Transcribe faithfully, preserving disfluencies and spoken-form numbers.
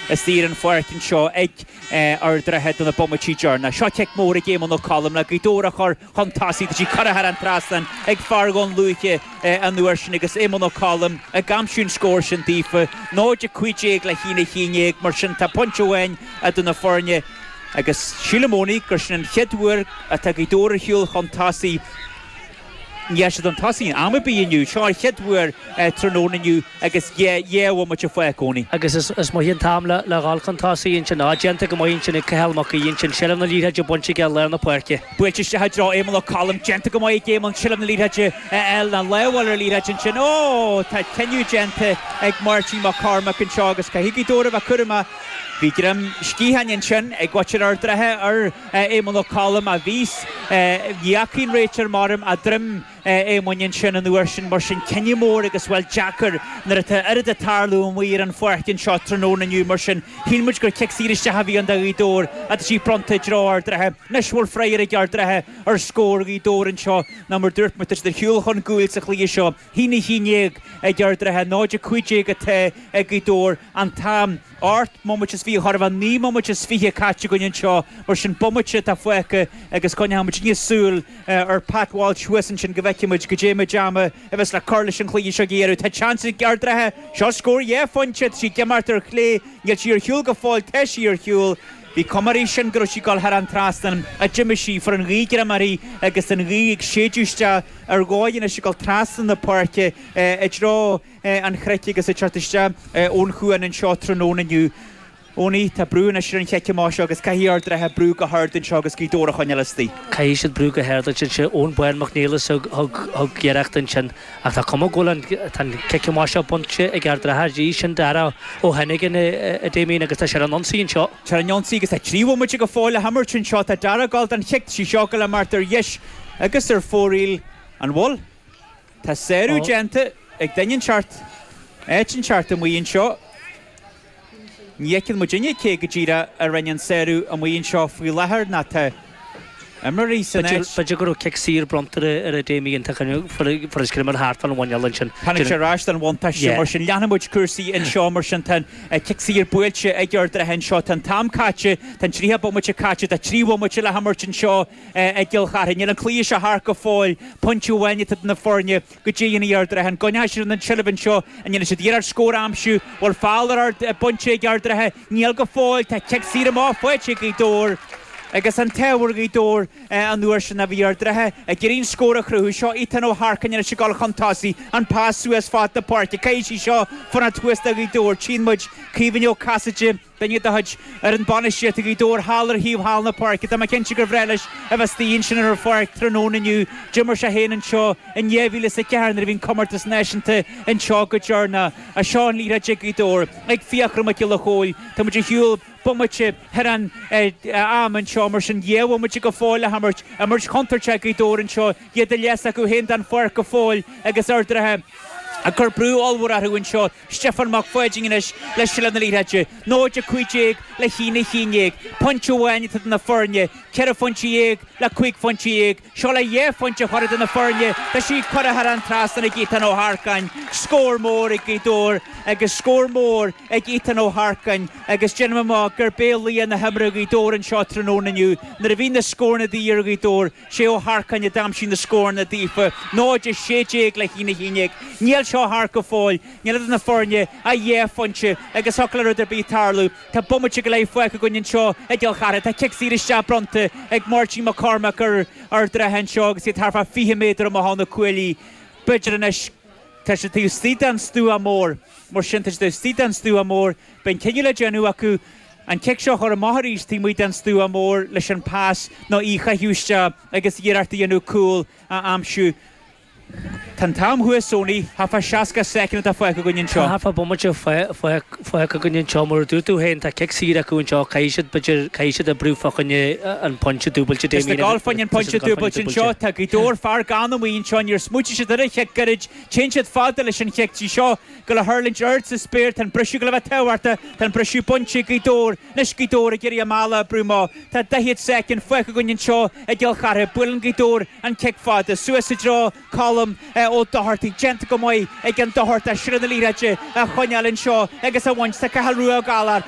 istigh ar an pháirc anseo ag Ard an Rátha do na bomaití deireanacha. Seo cic mór ag Éamonn Ó Colm le Gaoth Dobhair a chur chun tosaigh. Tá sí curtha thar an trasnán ag fear Dhún Lúiche an uair sin agus Éamonn Ó Colm ag aimsiú an scór sin daofa. náid a cúig déag le haon a haon déag, mar sin tá pointe amháin idir na foirne agus sílim Owenie gur sin an chéad uair atá Gaoth Dobhair ar shiúl chun tosaigh. Ní raibh siad chun tosaigh in am ar bith inniu. Seo an chéad uair tráthnóna inniu agus dhá bhomaite fágtha Owenie. Agus is maith an t-am le dhul chun tosaigh ansin. Á, déanta go maith ansin ag Cathal Mac Aoidh ansin, seilbh na liathróide bainte aige i lár na páirce. Buailte isteach i dtreo Éamonn Ó Colm, déanta go maith ag Éamonn, seilbh na liathróide a fháil, ná lámháil ar an liathróid ansin. Ó, tá cinneadh déanta ag Máirtín Mac Cormaic anseo agus caithfidh Gaoth Dobhair a bheith cúramach. Bhí greim sciatháin ansin ag muintir Ard an Rátha ar Éamonn Ó Colm a bhí ní fhaca an réiteoir maram a droim Éamoinn ansin an uair sin mar sin cinneadh mór agus bhuel deacair nuair atá oiread ag tarlú amuigh ar an pháirc anseo tráthnóna inniu mar sin shíl muid gur cic saor isteach a bhí ann do Ghaoth Dobhair ach tá sí bronnta i dtreo Ard an Rátha. Anois bhfuil freagra ag Ard an Rátha ar scór Ghaoth Dobhair anseo ná mar dúirt muid tá siad ar shiúl chun cúil sa chluiche seo haon a haon déag ag Ard an Rátha náid a cúig déag atá ag Gaoth Dobhair an t-am ocht mbomaite is fiche chóir a bheith naoi mbomaite is fiche caite againn anseo mar sin bomaite atá fágtha agus coinneoidh muid níos súil ar Pat Walsh thuas ansin go bhfeicfidh muid goidé méid ama a bheas le cur leis an chluiche seo ag iarraidh. Tá seans ag Ard an Rátha seo scór dhá phointe tá sí ag imeacht ar chlé níl sí ar shiúl go fóill tá sí ar shiúl. Bhí cuma uirthi sin go raibh sí ag dul thar an trasnán a d'imigh sí fuair an ghaoth greim uirthi agus an ghaoth ag séideadh isteach ar dhóigh anois ag dul trasna na páirce i dtreo an chnoic agus ag teacht isteach ón chuan anseo tráthnóna inniu. Owenie tá brú anois ar an chic amach seo agus caithfidh Ard an Rátha brú go hard anseo agus Gaoth Dobhair a choinneáil istigh. Caithfidh siad brú go hard ansin sé Eoin Bán Mac Niallais thug thug iarracht ansin ach tá cuma go bhfuil an tá an cic amach seo bainte ag Ard an Rátha arís sin Dara Ó Hennigan a Damien agus tá sé ar an ionsaí anseo. Tá an ionsaí agus tá trí bhomaite go fóill le himirt anseo tá Dara ag gabháil don chic sí seo go le mart ar dheis agus ar fóraoil an bhfuil. Tá sárú déanta ag duine inteacht áit inteacht amuigh anseo. Ní fheiceann muidinne cé go díreach a rinne an sárú amuigh anseo faoi láthair ná tá imreoirí san áit. B'fhéidir go raibh cic saor bronnta ar a Damien fuair scrimmer thart an bhaineáil ansin. Tháinig sé ar ais don bhuntáiste mar sin leanfaidh muid cúrsaí anseo mar sin tá cic saor buailte ag Ard an Rátha anseo tá an t-am caite tá an tríocha bomaite caite tá trí bhomaite le himirt anseo i gCill Charthaigh. Níl an cluiche seo thart go fóill pointe amháin atá na foirne go dtéann Ard an Rátha an gcoinneoidh siad an tseilbh anseo an ndéanfaidh siad iarracht scór a aimsiú bhfuil feall ar ard bainte ag Ard an Rátha níl go fóill tá cic saor amach faighte ag Gaoth Dobhair agus an t-ádh ar Ghaoth Dobhair an uair sin a bhí Ard an Rátha ag iarraidh an scór a chruthú seo Ethan Ó hEarcain anois ag dul chun tosaigh an pas suas fad na páirce caithfidh sí seo fanacht thuas do Ghaoth Dobhair tchíonn muid Caoimhín Ó Casaide duine de chuid ar an bainistíocht Ghaoth Dobhair thall ar thaobh thall na páirce Tá mé cinnte gur bhreá leis a bheith istigh ansin ar an pháirc tráthnóna inniu d'imir sé féin anseo in dhá mhíle is a ceathair nuair a bhí an comórtas náisiúnta anseo go deireanach a seo an liathróid ag Gaoth Dobhair ag Fiachra Mac Giolla Chóill Tá muid ar shiúl bomaite thar an am anseo mar sin dhá bhomaite go fóill le himirt imirt chontúirteach Gaoth Dobhair anseo iad a leas acu féin den pháirc go fóill agus Ard an Rátha ag cur brú ollmhór orthu anseo Stiofán Mac Pháidín anois le seilbh na liathróide náid a cúig déag le haon a haon déag pointe amháin atá na foirne ceithre phointe dhéag le cúig phointe dhéag seo le dhá phointe a chur idir na foirne Tá sí curtha thar an trasnán ag Ethan Ó hEarcáin scór mór ag Gaoth Dobhair agus scór mór ag Ethan Ó hEarcáin agus déanaim amach gur bé laoch na himeartha Gaoth Dobhair anseo tráthnóna inniu nuair a bhí na scóranna de dhíth ar Ghaoth Dobhair sé Ó hEarcáin a d'aimsigh na scóranna daofa náid a sé déag le haon a haon déag Níl seo thart go fóill níl idir na foirne ach dhá phointe agus thiocfadh le rud ar bith tarlú Tá bomaite go leith fágtha againn anseo i gCill Charthaigh Tá cic saor isteach bronnta ag Máirtín Mac Cormaic ar Ard an Rátha anseo agus iad thart fá fiche méadar amach ó na cuaillí B'fhéidir anois tá siad taobh istigh den stua mór mar sin tá siad taobh istigh den stua mór Beidh an cinneadh le déanamh acu an cic seo chur amach arís taobh amuigh den stua mór leis an pas nó í a chaitheamh isteach agus iarracht a dhéanamh cúl a aimsiú. Tá an t-am thuas Owenie thart fá seasca soicind atá fágtha againn anseo. Tá thart fá bomaite fágtha againn anseo mar a dúirt tú féin tá cic saor acu anseo caithfidh siad b'fhéidir caithfidh siad oibriú fá choinne an pointe dúbailte Is na gabháil fá choinne an pointe dúbailte anseo tá Gaoth Dobhair fear gann amuigh anseo níor smaointigh siad ar an chic gairid téann siad fada leis an chic sí seo go le hurlaint ard sa spéir tá an briseadh go le bheith tábhachtach tá an briseadh bainte ag Gaoth Dobhair anois Gaoth Dobhair ag iarraidh a mbealach a oibriú amach tá daichead soicind fágtha againn anseo i gCill Charthaigh buaileann Gaoth Dobhair an cic fada suas i dtreo Colm Ó Dochartaigh déanta go maith ag an Dochartach seilbh na liathróide a choinneáil anseo agus a bhaint tá Cathal Rua Ó Gallchóir